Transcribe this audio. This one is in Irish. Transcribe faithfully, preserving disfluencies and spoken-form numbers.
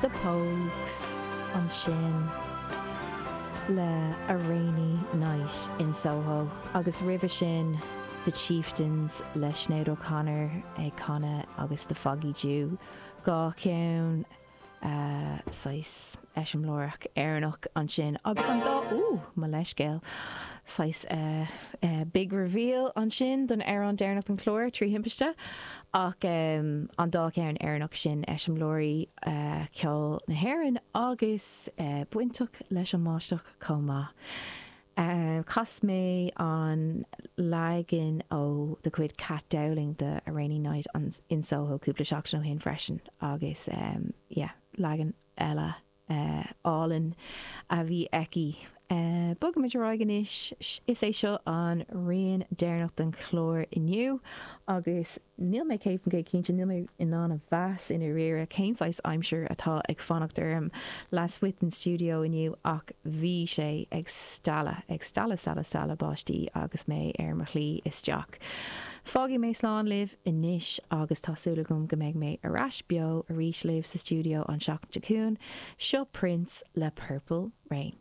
The Pogues ansin le A Rainy Night in Soho agus roimhe sin The Chieftains le Sinéad O'Connor ag canadh agus The Foggy Dew dhá cheann uh, saghas eiseamláireach Éireannach ansin agus an dá ú mo leithscéal saghas uh, uh, big reveal ansin don amhrán deireanach an chlár trí thimpiste ach um, an dá cheann Éireannach sin eiseamláirí uh, ceol na hÉireann agus uh, bainteach leis an mbáisteach chomh maith. Uh, chas mé an leagan ó de chuid Kat Dowling de A Rainy Night an, in Soho cúpla seachtain ó shin freisin agus um, yeah, leagan eile uh, álainn a bhí aici. Uh, Bogaimid ar aghaidh anois is é seo an rian deireanach den chlár inniu agus níl mé céad go cinnte níl mé in ann a mheas i ndáiríre cén saghas aimsir atá ag fanacht orm lasmuigh den stiúideo inniu ach bhí sé ag stealladh ag stealladh stealladh stealladh báistí agus mé ar mo shlí isteach. Fágfaidh mé slán libh anois agus tá súil agam go mbeidh mé ar ais beo arís libh sa stiúideo an seachtain seo chugainn, seo Prince le Purple Rain.